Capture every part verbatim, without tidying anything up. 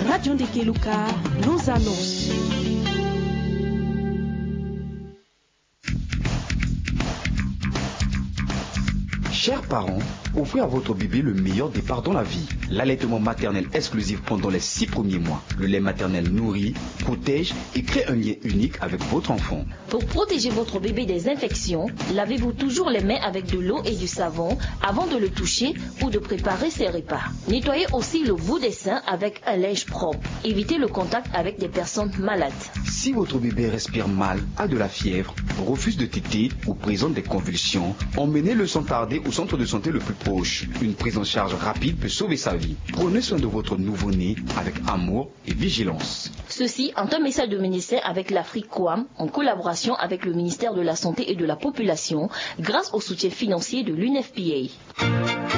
Radio Ndekeluka, nos annonces. Chers parents, offrez à votre bébé le meilleur départ dans la vie. L'allaitement maternel exclusif pendant les six premiers mois. Le lait maternel nourrit, protège et crée un lien unique avec votre enfant. Pour protéger votre bébé des infections, lavez-vous toujours les mains avec de l'eau et du savon avant de le toucher ou de préparer ses repas. Nettoyez aussi le bout des seins avec un linge propre. Évitez le contact avec des personnes malades. Si votre bébé respire mal, a de la fièvre, refuse de téter ou présente des convulsions, emmenez-le sans tarder au centre de santé le plus proche. Une prise en charge rapide peut sauver sa vie. Prenez soin de votre nouveau-né avec amour et vigilance. Ceci est un message de médecin avec l'Afrique Coam en collaboration avec le ministère de la Santé et de la Population grâce au soutien financier de l'U N F P A.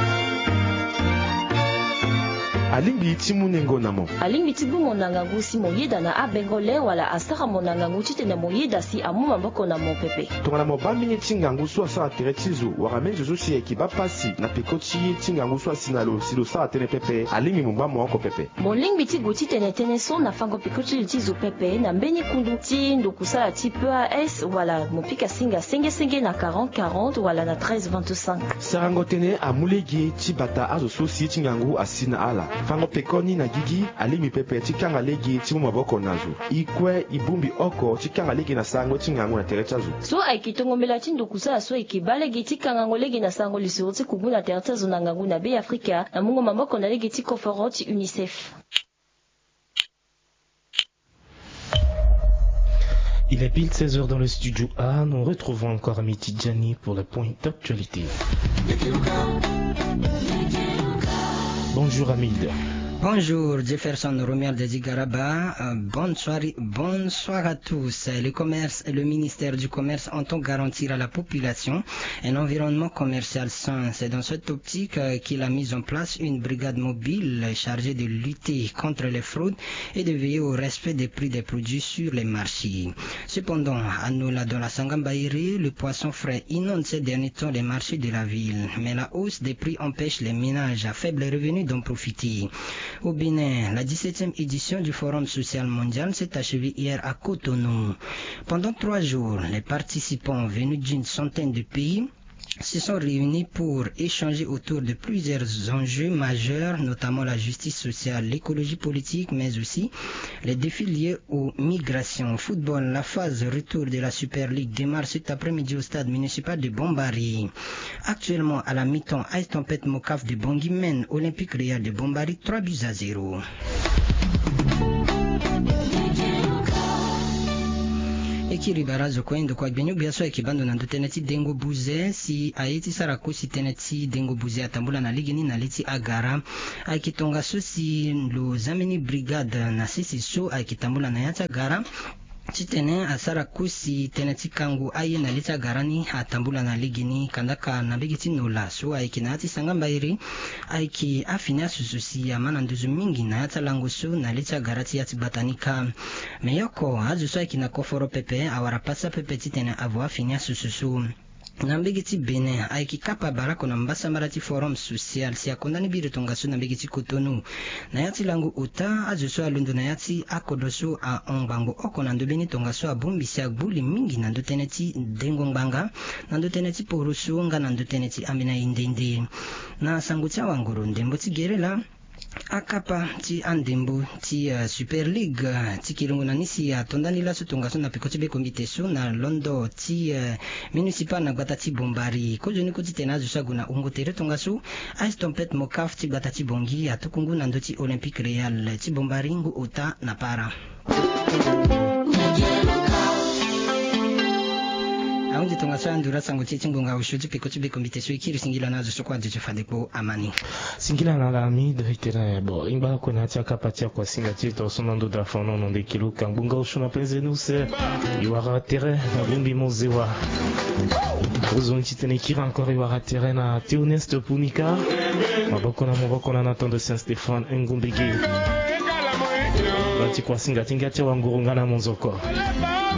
Alingbi ti mu nengo na mo. Alingbi ti bu mo na ngangu si mo yeda na abengole wala asara mo na ngangu titene mo yeda si amu maboko na mo pepe. Tongana mo baa mbeni ti ngangu so asara tere ti zo wala mbeni zo so si ayeke baa pasi na peko ti ye ti ngangu so asi na lo si lo sara tënë pepe, alingbi mo baa mo oko pepe. Mo lingbi ti gue titene tënë so na fango peko ti li ti zo pepe na mbeni kundu ti ndokusala ti P A S wala mo pika singa senge senge na quarante quarante wala na treize vingt-cinq. Sarango tënë amu lege ti bata azo so si ye ti ngangu asi na ala. Fango pekoni na gigi alingbi pepe ti kanga lege ti mu maboko na zo. E kue e bongbi oko ti kanga lege na sarango ti ngangu na tere ti azo. So ayeke tongo mbela ti ndokusala so ayeke baa lege ti kangango lege na sarango lisoro ti kubu na tere ti azo na ngangu na Be Afrika na mungo maboko na lege ti koforo ti UNICEF. Il est pile seize heures dans le studio A. Nous retrouvons encore Ami Tidjani pour le point d'actualité. Bonjour Hamid. Bonjour Jefferson Romuald Zigaraba. Euh, bonsoir, bonsoir à tous. Le commerce, le ministère du Commerce entend garantir à la population un environnement commercial sain. C'est dans cette optique, euh, qu'il a mis en place une brigade mobile chargée de lutter contre les fraudes et de veiller au respect des prix des produits sur les marchés. Cependant, à Nola, dans la Sangambairi, le poisson frais inonde ces derniers temps les marchés de la ville. Mais la hausse des prix empêche les ménages à faible revenu d'en profiter. Au Bénin, la dix-septième édition du Forum social mondial s'est achevée hier à Cotonou. Pendant trois jours, les participants venus d'une centaine de pays se sont réunis pour échanger autour de plusieurs enjeux majeurs, notamment la justice sociale, l'écologie politique, mais aussi les défis liés aux migrations. Football, la phase retour de la Super League démarre cet après-midi au stade municipal de Bombari. Actuellement, à la mi-temps, Ice Tempête Mocaf de Bangui mène Olympique Real de Bombari trois buts à zéro. E kiri barazo kue ndokua gbinio gbia so ayeke baa ndo na ndö tënë ti dengo buze si aye ti sara kosi tënë ti dengo buze atambula na legeni na li ti agara. Ayeke tongaso si lo za mbeni brigade na sese so ayeke tambula na ya ti agara titene asara kosi tënë ti kango aye na li ti agara ni atambula na legeni. Kandaka na mbege ti Nola so ayeke na ya ti Sangambairi, ayeke afini asusu si ama na nduzu mingi na ya ti alango so na li ti agara ti ya ti gbata ni kâ. Me yoko azo so ayeke na koforo pepe awara pasa pepe titene avo afini asusu so. Na mbege ti Bénin, ayeke kapa barako na mbasambara ti Forum social si akonda ni biri tongaso na mbege ti Cotonou. Na ya ti lango ota, azo so alondo na ya ti akodro so ahon ngbangbo oko na ndö mbeni tongaso abongbi si agbu li mingi na ndö tënë ti dengo ngbanga, na ndö tënë ti poroso nga na ndö tënë ti ambeni aye nde nde. Na sango ti awanguru ndembo ti gere laa, akapa ti andembo ti, eh, Super League, eh, ti kilongo na ni si atonda ni laso tongaso na peko ti bekombite so na londo ti, eh, municipal na gbata ti Bombari. Kozoni kue titene azo so ague na wungo tere tongaso, Ice Tempête Mocaf ti gbata ti Bangui atuku ngu na ndö ti Olympique Real ti Bombari ngu ota na para. Ahunzi tongaso andura sango ti e ti ngonga osio ti peko ti bekombite so e kiri singila na azo so kue aduti fade kpo amani. Singila na ala Hamid. Itene bon, e ngba lakue na ya ti akapa ti akuasinga ti e tongaso na ndo da fanono ndekilo ka ngbonga osio na penze ni use. E wara tere na bongbi mozewa. Kozoni titene e kiri encore e wara tere na Théoneste Punika. Maboko na maboko na Nathan de Saint-Stéphane Ngombege. Nga ti kuasinga ti nga ti awanguru nga na monzoko.